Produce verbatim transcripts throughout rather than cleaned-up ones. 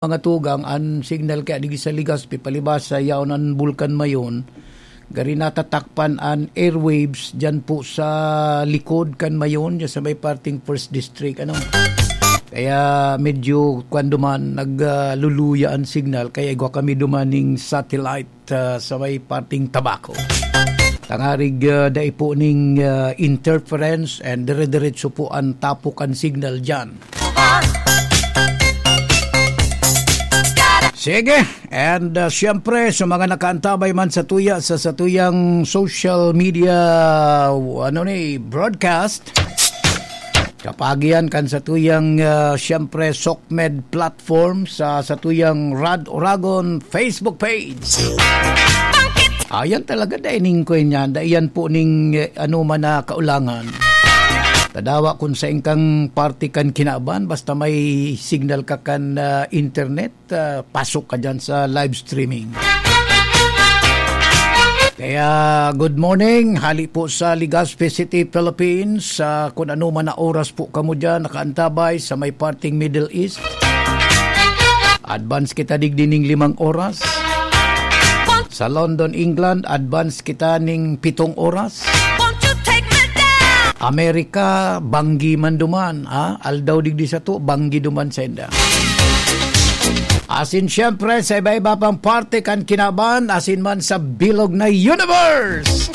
mga tugang, an signal kaya digdi sa Legazpi, palibasa yaon an Bulkan Mayon, gari natatakpan an airwaves diyan po sa likod kan Mayon, diyan sa may parting First District, ano. Kaya medyo, kwan duman, nag, ah, luluya an signal, kaya igwa kami duman ning satellite, ah, sa may parting Tabaco. Tangarig, ah, dai po ning, ah, interference and dire-diretso po an tapok kan signal diyan. Sige, and, uh, siyempre, sa mga nakaantabay man sa tuya, sa, sa tuyang social media, ano ni, broadcast, kapagian kan sa tuyang, uh, siyempre, Sokmed platform, sa, sa tuyang Rad Oragon Facebook page. Ayan talaga, dai ning kwan yan, dai yan po ning, eh, ano man na kaulangan. Tadawa kung sa ingkang parte kan kinaban, basta may signal ka kan, ah, internet, ah, pasok ka dyan sa live streaming. Kaya, good morning, hali po sa Legazpi City, Philippines, sa kung ano man na oras po kamo dyan, nakaantabay sa may parting Middle East. Advance kita digdi ning limang oras. Sa London, England, advance kita ning pitong oras. Won't you take me down? Amerika, banggi man duman, ha? Aldaw digdi sato, banggi duman sainda. Asin siyempre, sa iba-iba pang parte kan kinaban, asin man sa bilog na universe.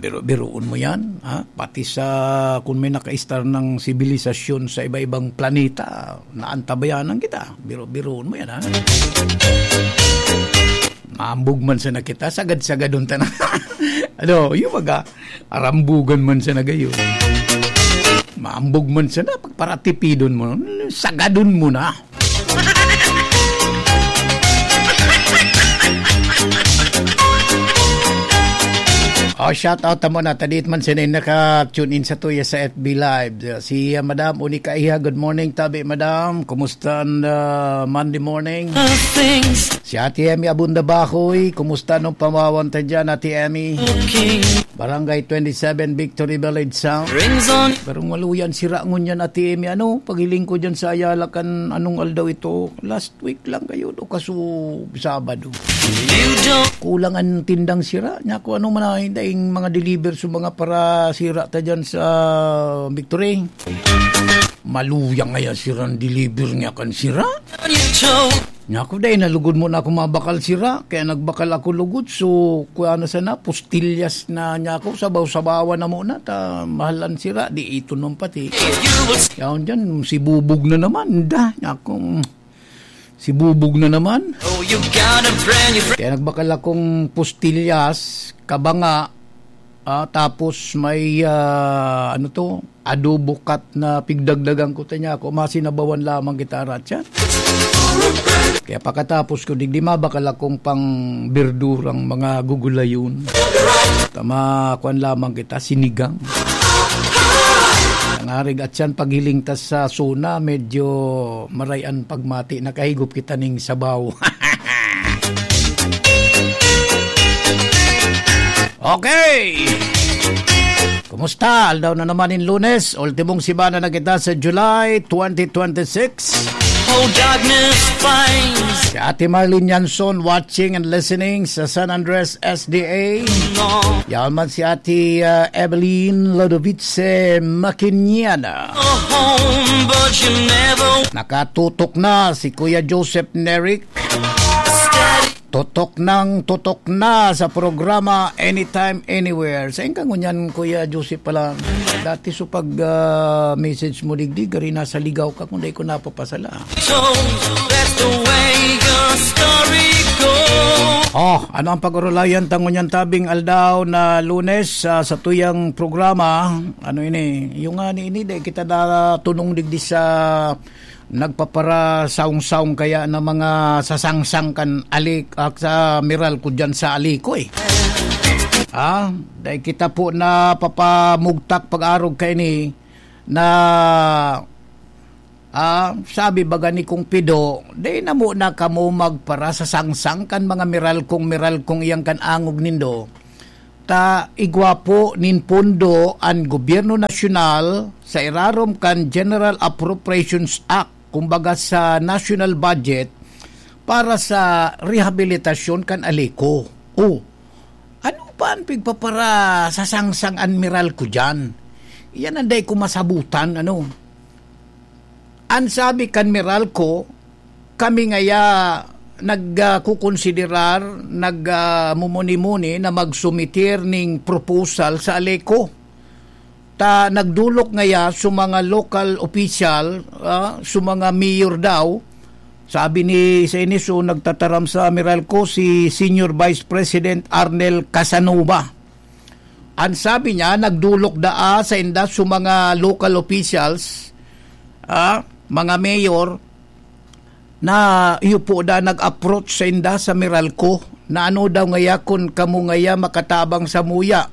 Biro-biroon mo yan, ha? Pati sa, kung may nakaistar ng sibilisasyon sa iba-ibang planeta, naantabayanan kita. Biro-biroon mo yan, ha? Maambog man sana kita, sagad-sagadon ta na. Ano, yung baga, arambugan man sana gayon. Maambog man sana, pagparatipidon mo, sagadon mo na. Oh, shout out tamo na. Tadit man sila yung naka-tune in sa tuya sa F B Live. Si, uh, Madam Unica Iha, good morning, tabi, Madam. Kumusta ang, uh, Monday morning? Things Si Ate Emmy Abunda Bahoy, kumusta nung pamawan ta dyan, Ate Emmy? Okay. Barangay twenty-seven, Victory Village Sound. Rings on. Pero maluyan, sira ngunyan, Ate Emmy. Ano, paghiling ko dyan sa Ayala kan anong aldaw ito? Last week lang kayo, do, kaso Sabado. You don't Kulang ang tindang sira. Nya ko, ano man na, daing mga deliver sa mga para sira ta dyan sa Victory. Maluyang nga yan, sirang deliver niya kan sira. On your toe. Nya ko, dai, nalugod mo na ako mabakal sira. Kaya nagbakal ako lugod. So, kuya na sana, pustilyas na niya ako. Sabaw-sabawan na muna. Ta, mahal ang sira. Di ito nung pati. If you will Yaon dyan, si Bubog na naman. Da, niya akong, si Bubog na naman. Oh, you got a brand new friend. Kaya nagbakal akong pustilyas, kabanga, ah, tapos may, ah, ano to, adobo cut na pigdagdagan ko ta niya ako, masinabawan lamang kita, Ratchan. Kaya pakatapos ko, digdi mabakal akong pang berdurang mga gugulayon. Tama, kwan lamang kita, sinigang. Nangarig at siyan, paghiling ta sa suna, medyo marayan pagmati, nakahigop kita ning sabaw. Okay! Kumusta? Aldaw na naman in Lunes. Ultimong semana na kita sa July twenty twenty-six. Oh, darkness finds Si Ate Marlene Yanson watching and listening sa San Andres S D A. No. Yaon man si Ate, uh, Evelyn Lodovice Maquinana. A home, but you never Nakatutok na si Kuya Joseph Neric. Steady. Tutok nang tutok na sa programa Anytime, Anywhere. Sain ka ngunyan, Kuya Joseph, pala? Dati so pag, ah, message mo digdi, gari nasa Ligaw ka, kung dai ko napapasala. So, that's the way the story goes. Oh, ano ang pag-urulayan ta ngunyan tabing aldaw na Lunes, ah, sa tuyang programa? Ano ini? Yung nga ni ini, dai kita natunong digdi sa nagpaparasaong-saong kaya na mga sasangsang kan alik-, ak-, sa miral ko dyan sa Alikoy. Ah, dai kita po napapamugtak pag-arog kaini na, ah, sabi baga ni Kong Pido, "Dai na mo na kamo magparasasangsang kan mga miral kong, miral kong iyang kan angog nindo." ta igwa po nin pondo an gobyerno nasyonal sa irarom kan General Appropriations Act, kumbaga sa national budget, para sa rehabilitasyon kan Aleco. Oh, ano pa an pigpaparasasangsang an Meralco diyan? Yan ang dai ko masabutan, ano? An sabi kan Meralco, kami ngaya nagkukonsiderar, nagmumuni-muni na magsumitir ning proposal sa Aleco. Ta nagdolok ngaya sa mga local official, ah, sa mga mayor daw. Sabi ni, sa ini, so, nagtataram sa Meralco si Senior Vice President Arnel Casanova. An sabi niya, nagdolok daa sainda sa mga local officials, ah, mga mayor, na iyo po da nag-approach sainda sa Meralco, na ano daw ngaya kun kamo ngaya makatabang samuya.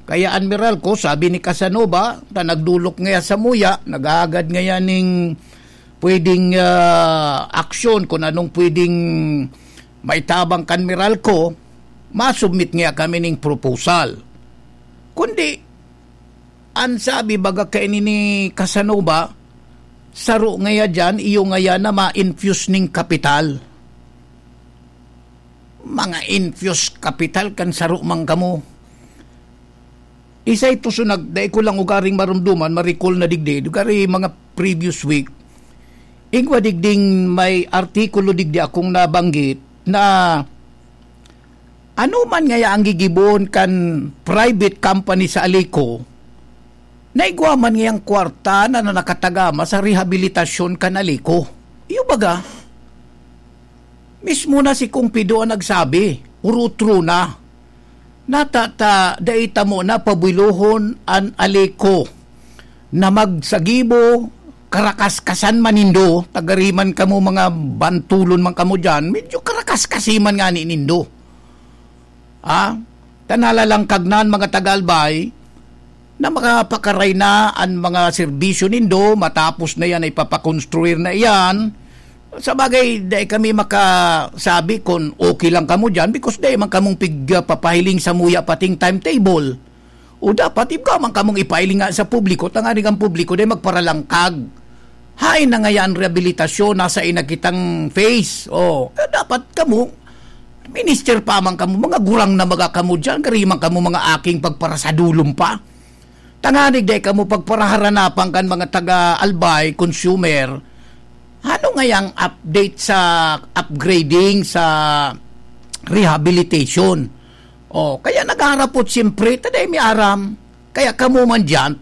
Kaya an Meralco, sabi ni Casanova, ta nagdolok ngaya samuya, naghahagad ngaya ning pwedeng, ah, aksyon, kung anong pwedeng maitabang kan Meralco, masubmit ngaya kami ning proposal. Kundi, an sabi baga kaini ni Casanova, saro ngaya diyan, iyo ngaya na ma-infuse ning kapital. Mga infuse kapital kan saro man kamo. Isa ito so nag-, dai ko lang ugaring marumduman, ma-recall na digdi, ugari mga previous week. Igwa digding may artikulo digdi akong nabanggit na ano man ngaya ang gigibohon kan private company sa Aleco, na igwa man ngayang kwarta na, na nakatagama sa rehabilitasyon kan Aleco. Iyo baga, mismo na si Kong Pido ang nagsabi, urutro na. Nata ta, dai ta mo na pabulohon an Aleco na magsagibo, karakaskasan man nindo, tagariman kamo mga bantulon man kamo diyan, medyo karakaskasi man ngani nindo. Ah, ta nalalangkag na an mga taga-Albay na makapakaray na an mga serbisyo nindo, matapos na yan ay papakonstruir na iyan. Sa bagay, dai kami makasabi kung okay lang kamo diyan because dai man kamong pigpapahiling samuya pating timetable. O dapat, igwa man kamong ipahiling nga sa publiko, tanganing ang publiko dai magparalangkag. Hain na ngaya an rehabilitasyon, nasa ina kitang phase. O, eh, dapat kamo, minister pa man kamo, mga gurang na baga kamo diyan, gari man kamo mga aking pagparasadulom pa. Tanganing dai kamo pagparaharanapan kan mga taga-Albay, consumer. Ano ngayang update sa upgrading, sa rehabilitation? O, kaya naghaharapot siyempre, ta dai mi aram. Kaya kamo man diyan,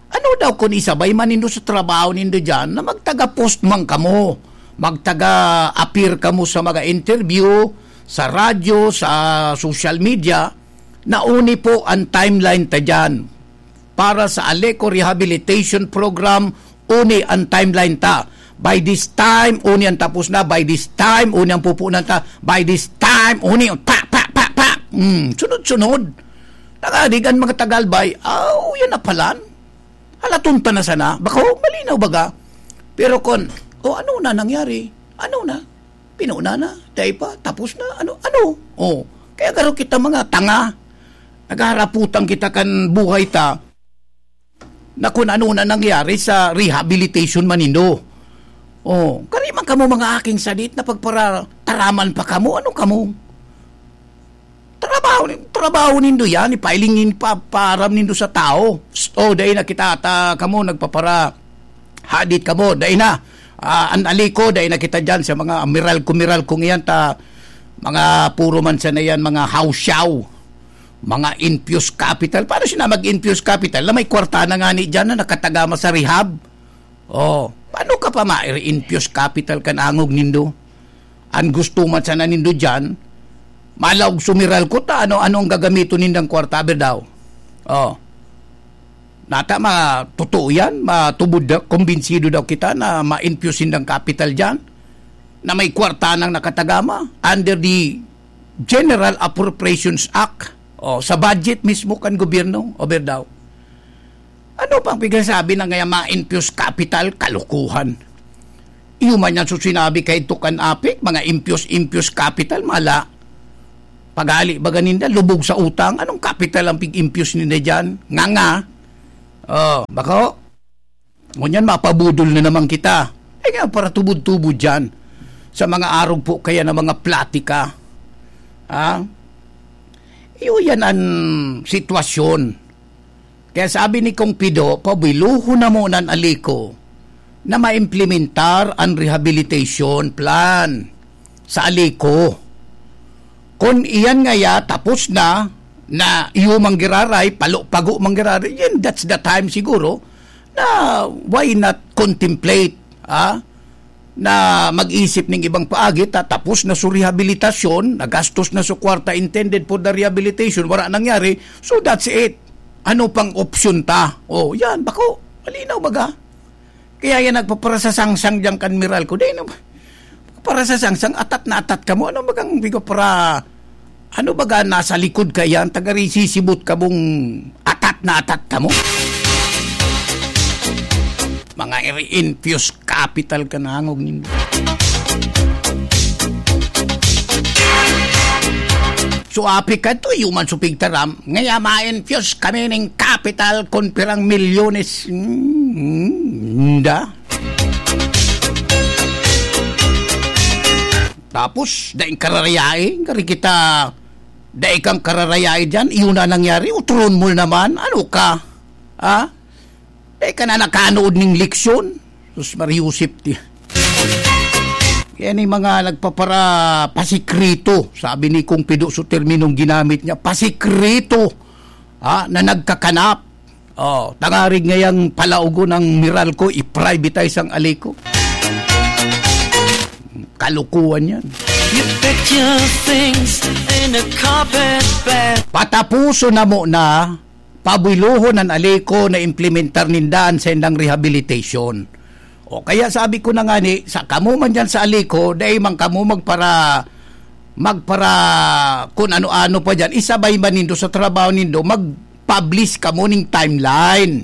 ano daw kun isabay man nindo sa trabaho nindo diyan na magtaga-post man kamo, magtaga-appear kamo sa mga interview, sa radyo, sa social media, na uni po an timeline ta diyan. Para sa Aleco Rehabilitation Program, uni an timeline ta. By this time, uni an tapos na. By this time, uni an pupunan ta. By this time, uni, pa, pa, pa, pa. Hmm, sunod-sunod. Tagadig an mga taga-Albay, aw, yan na palan. Halaton ta na sana. Bako, malinaw baga. Pero kon, o ano na nangyari? Ano na? Pinuna na? Dai pa? Tapos na? Ano? Ano? O, kaya garo kita mga tanga. Naghaharaputan kita kan buhay ta na kung ano na nangyari sa rehabilitation man nindo. O, kari man kamo mga aking sadit na pagparataraman pa kamo. Ano kamo? Trabaho, trabaho nindo yan, ipahiling nin pa, paaram nindo sa tao. Psst, oh, dai na kita ata kamo, nagpapara, hadit kamo, dai na. Ah, an Aleco, dai na kita dyan sa mga Meralco-Meralco ngayon, ta, mga puro man sana yan, mga hawsyaw, mga infused capital. Paano sila mag-infuse capital na may kwarta na nga ni dyan na nakatagama sa rehab? Oh, paano ka pa ma-infuse capital kan angog nindo? An gusto man sana nindo diyan, malaog sumiral ko ta ano, ano ang gagamiton nindang kwarta, aber daw? Oh. Nata ma-, totoo yan, matubod daw, kumbinsido daw kita na ma-infuse nindang capital diyan, na may kwarta nang nakatagama under the General Appropriations Act, oh, sa budget mismo kan gobyerno, aber daw. Ano pang pigsasabi na ngaya ma-infuse capital? Kalokohan. Iyo man yan so sinabi kay Tukan Apik, mga infuse, infuse capital, mala. Paghali baga ninda, lubog sa utang. Anong kapital ang pig-impyos ninda diyan? Nga nga. Oh, bako? Ngunyan, mapabudol na naman kita. Eh nga, para tubod-tubod dyan sa mga arog po kaya na mga platika. Ha? Iyo yan ang sitwasyon. Kaya sabi ni Kong Pido, pabiluhon na muna an Alico na maimplementar an rehabilitation plan sa Alico. Kun iyan ngaya tapos na, na iyo manggiraray, palo-pago manggiraray, yan, that's the time siguro na why not contemplate, ah, na mag-isip ning ibang paagi, ta tapos na su rehabilitasyon, nagastos na su kwarta intended for the rehabilitation, wala nangyari, so that's it. Ano pang opsyon ta? Oh, yan, bako. Malinaw baga? Kaya yan nagpaparasasangsang diyan kan Meralco. Dai na, para sa sangsang, atat na atat kamo. Ano bagang bigo para, ano baga nasa likod ka yan? Tagarisisibot ka mong atat na atat kamo? Mga iri-infuse capital ka na hangog nindo. So, api ka to, human supig taram. Ngaya ma-infuse kami ning capital kon pirang milyones. Hmm, nda. Tapos, daing kararayai, kari kita, dai kang kararayai diyan, iyon na nangyari, utron mo naman, ano ka? Ha? Dai ka na nakanood ning leksyon? Sus, Maria Josep, ti. Yan yung mga nagpapara-, pasikreto. Sabi ni Kong Pido sa terminong ginamit niya, pasikreto, ha, na nagkakanap. Oh, tangarig ngayang palaugon ang Meralco, i-privatize ang Alico. Kalukuhan yan. You pack your things in a carpet bag. Patapuson na mo na, pabuilohon an Alico na implementar ninda an saindang rehabilitation. O kaya sabi ko na nga ni, sa kamo man dyan sa Alico, dai man kamo magpara-, magpara-, kun ano-ano pa dyan, isabay man nindo sa trabaho nindo, mag-publish kamo ning timeline.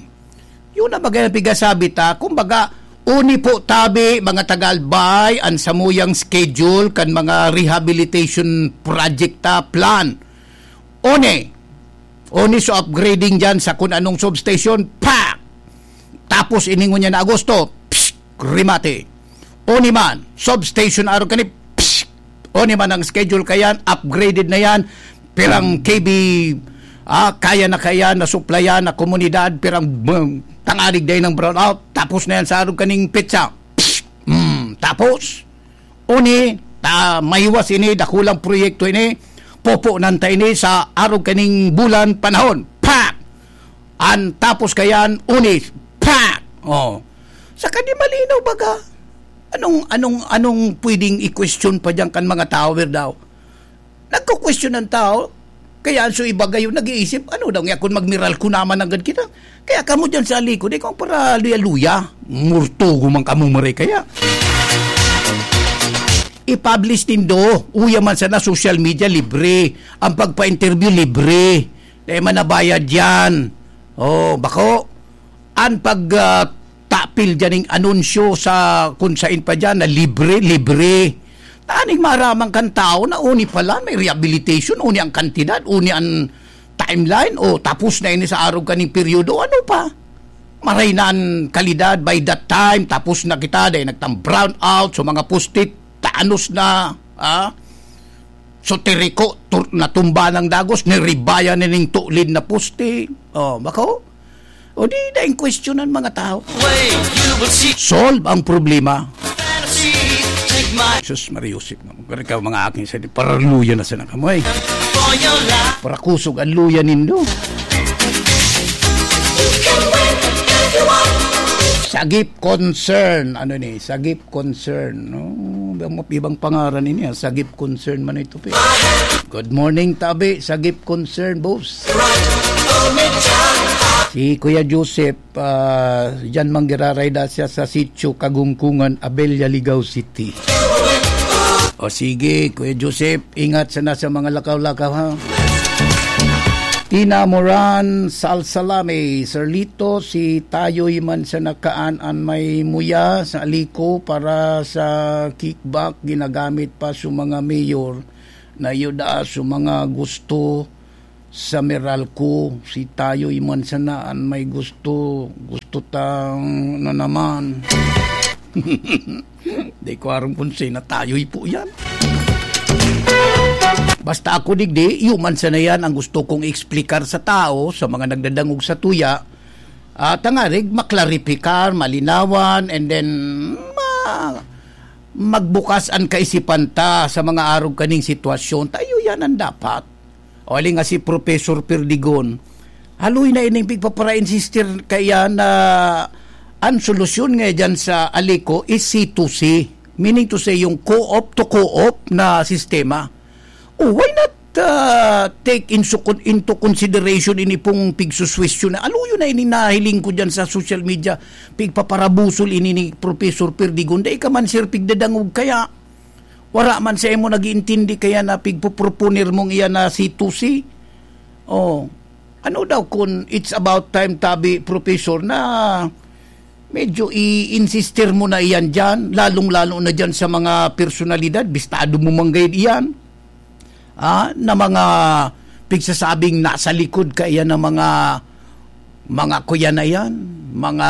Yun na bagay na pigasabi ta. Kumbaga, uni po tabi, mga taga-Albay, an samuyang schedule kan mga rehabilitation project ta plan. Uni, uni so upgrading dyan sa kun anong substation, pa! Tapos iningon niya na Agosto, psst, remate. Uni man, substation arog kani, psst, uni man ang schedule kayan, upgraded na yan, pirang K V, ah, kaya na kaya na suplayan na komunidad, pirang, bum, tangarig day ng brownout, tapos na yan sa arog kaning petsa. Psst, mm, tapos, uni, ta, mahiwas ini, dakulang proyekto ini, poponan ta ini sa arog kaning bulan panahon. Pak! An tapos kayan, uni, pak! Oh. Saka di malinaw baga. Anong, anong, anong pwedeng i-question pa diyan kan mga tower daw? Nagko-question ang tao, kaya ang so iba gayon nag-iisip, "Ano daw nga kun magmiral ko naman agad kita?" Kaya kamo diyan sa likod, ikaw para luya-luya. Murtugo man kamo, mare, kaya. I-publish nindo, uya man sana social media, libre. Ang pagpa-interview, libre. Dai man nabayad yan. Oh, bako. An pag, ah, tapil diyan ning anunsyo sa kun sain pa diyan na libre, libre. Taning maaraman kan tawo na uni pala may rehabilitation, uni ang kantidad, uni an timeline, o tapos na ini sa arog kaning peryodo, ano pa? Maray na an kalidad by that time, tapos na kita, dai nagtang brownout, so mga poste, tanos na, ah? So, tiriko, tur-, natumba ng dagos, niribaya na ning tulid na poste. Oh, bako? O di, daing kwestiyonan mga tao. Solve ang problema. Sus, Maria Josep, mga, mga aking sa paraluya na sana kamoy. Para kusog ang luya nindo. Sagip concern. Ano ni? Sagip concern, no? Ibang, ibang pangaran ini, ah. Sagip concern man ito, pe. Good morning, tabi. Sagip concern, boss. Si Kuya Joseph, ah, diyan manggiraray da siya sa sitio Kagungkungan, Abella, Ligao City. O sige, Kuya Joseph, ingat sana sa mga lakaw-lakaw, ha? Tina Moran Salsalame, Sir Lito, si Tayoy man sa nakaan an may muya sa Aliko para sa kickback, ginagamit pa sa mga mayor. Nayo daa sa mga gusto sa Meralco, si Tayoy man sana an may gusto. Gusto tang na naman. Di ko aram kung sino Tayoy po yan. Basta ako digdi, iyo man sana yan ang gusto kong explicar sa tao, sa mga nagdadangog sa tuya. At tangarig maklaripikar, malinawan, and then ma- magbukas an kaisipan ta sa mga arog kaning sitwasyon. Tayo yan ang dapat. O, ali nga si Professor Perdigon, haloy na ining pigpapara-insistir kaya na an solusyon nga dyan sa Alico is C two C. Meaning to say, yung co-op to co-op na sistema. O, why not, ah, take in su-, into consideration ini pong pigsuswestiyon na aluyon na ini nahiling ko dyan sa social media, pigpaparabusol ini ni Professor Perdigon. Dai ka man, sir, pigdadangog kaya. Wara man sa imo nag-iintindi kaya na pigpoproponer mong iyan na C two C. Oh, ano daw kun it's about time, tabi, Professor, na medyo i-insistir mo na iyan diyan, lalong-lalo na diyan sa mga personalidad, bistado mo man gayud iyan, ah, na mga pigsasabing nasa likod kaiyan ng mga, mga kuya na iyan, mga,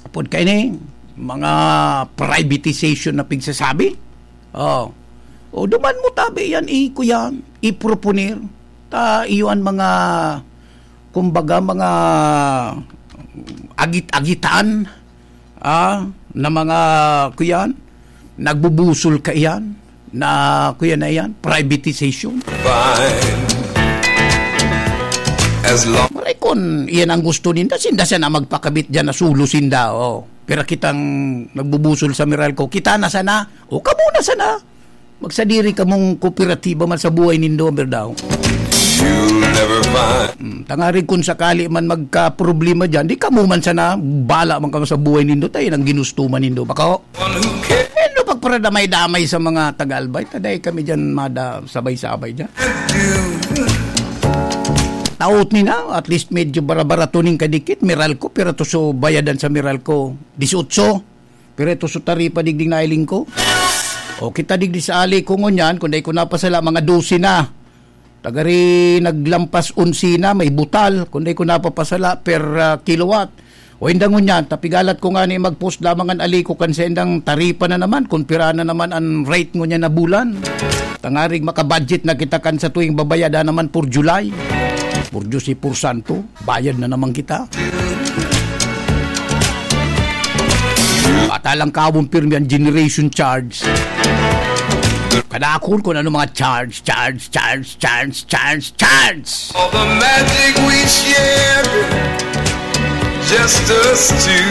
apod kaini, mga privatization na pigsasabi. Oh. O, duman mo tabi iyan, i-, kuya, i-proponer. Ta iyo an mga, kumbaga, mga agit-agitan, ah, na mga, kuyan, nagbubusol kaiyan, na, kuya na iyan, privatization. Fine. As long Maray kun iyan ang gusto ninda, sinda sana magpakabit diyan na sulo sinda, oh. Pero kitang nagbubusol sa Meralco, kita na sana, o kamo na sana. Magsadiri kamong kooperatiba man sa buhay nindo, Berdaw. You'll never find Hmm, tangarig kun sakali man magkaproblema diyan, di kamo man sana, bala man kamo sa buhay nindo, tayo nang ginusto man nindo. Bako, one who can ano pagparadamay-damay sa mga taga-Albay? Taday kami diyan, mada, sabay-sabay diyan. Do. Taot ni na, at least medyo barabara tuning kadikit, Meralco, pero to so bayadan sa Meralco, dieciocho. Pero ito sa taripa digdi nailing ko. O kita digdi sa Alico ngunyan, kung dai ko napasala, mga dose na. Tagari naglampas onse na, may butal, kung dai ko napapasala per, ah, kilowatt. O inda ngunyan, tapigalat ko nga ni mag-post lamang an Alico kan sa indang taripa na naman, kung pira na naman an rate ngunyan na bulan. Tangarig makabudget na kita kan sa tuwing babayada naman for July. Por Diyos y por Santo. Bayad na naman kita. Bata lang kawon pirmi ang generation charge. Kadakon kung ano mga charge, charge, charge, charge, charge, charge. All the magic we shared, just us two.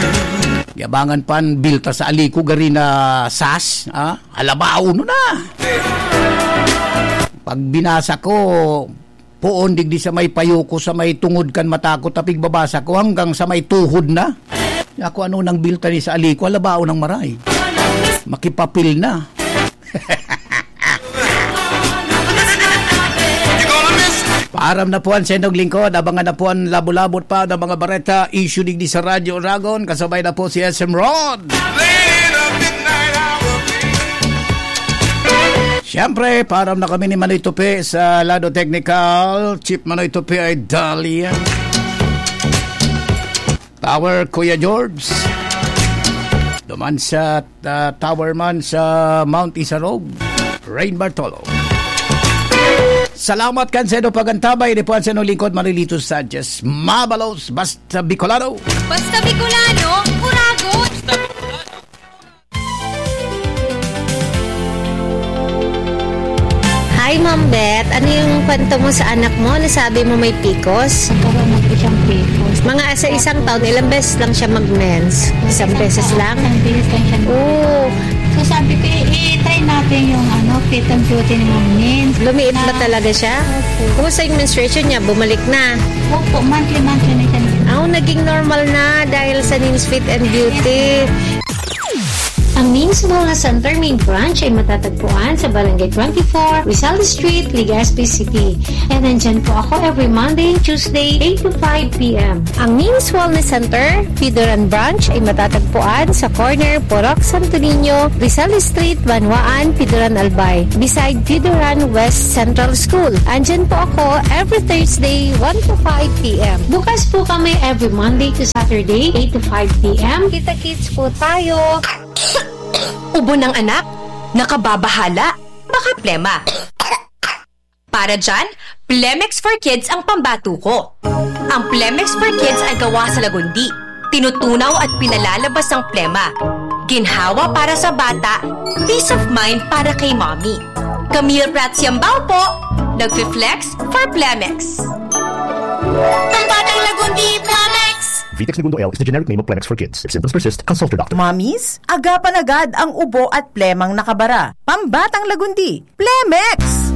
Yabangan pan bilta sa Alico gari na sas, ah? Alabao no na. Pag binasa ko, poon digdi sa may payo ko, sa may tungod kan mata ko, tapig babasa ko hanggang sa may tuhod na. Ako ano nang bilta ni sa Alico, alabao nang maray. Makipapil na. Paaram na po ang Sendong Lingkod. Abangan na po ang labo-labot pa ng mga bareta, issue digdi sa Radyo Oragon. Kasabay na po si S M Rod. Siyempre, paaram na kami ni Manoy Tupi sa lado technical. Chief Manoy Tupi ay Dahlia. Tower, Kuya George. Duman sa, ah, Tower man sa Mount Isarog, Rain Bartolo. Salamat kan sa inyo pagantabay. Ini po ang sa inyong lingkod, Marilito Sanchez. Mabalos, basta Bicolano. Basta Bicolano, Uragon. Hi, Ma'am Beth. Ano yung kwento mo sa anak mo? Nasabi mo may picos? Nagkaroon ng isang picos. Mga sa isang taon, ilang beses lang siya mag-mens? Isang Isang beses taon, lang? Isang beses lang siya. Oo. So, sabi ko, "I-, i-try natin yung, ano, fit and beauty ni Ma'am Nins." Lumiit ba Na talaga siya? Opo. Kumusta yung menstruation niya? Bumalik na? Opo, monthly, monthly na siya. Ah, naging normal na dahil sa Nins Fit and Beauty. Ang Means Wellness Center main branch ay matatagpuan sa Barangay twenty-four, Rizal Street, Legazpi City. And nandyan po ako every Monday and Tuesday, eight to five p.m. Ang Means Wellness Center, Pidoran Branch, ay matatagpuan sa corner Purok Santo Niño, Rizal Street, Banwaan, Pidoran Albay, beside Pidoran West Central School. Andyan po ako every Thursday, one to five p.m. Bukas po kami every Monday to Saturday, eight to five p.m. Kita-kits po tayo. Ubo ng anak? Nakababahala? Baka plema. Para dyan, Plemex for Kids ang pambato ko. Ang Plemex for Kids ay gawa sa lagundi. Tinutunaw at pinalalabas ang plema. Ginhawa para sa bata, peace of mind para kay mommy. Camille Prats Yambao po, nagfi-flex for Plemex. Pambatang lagundi, Plemex! Vitex Negundo L is the generic name of Plemex for kids. If symptoms persist, consult your doctor. Mommies, agapan agad ang ubo at plemang nakabara. Pambatang lagundi, Plemex!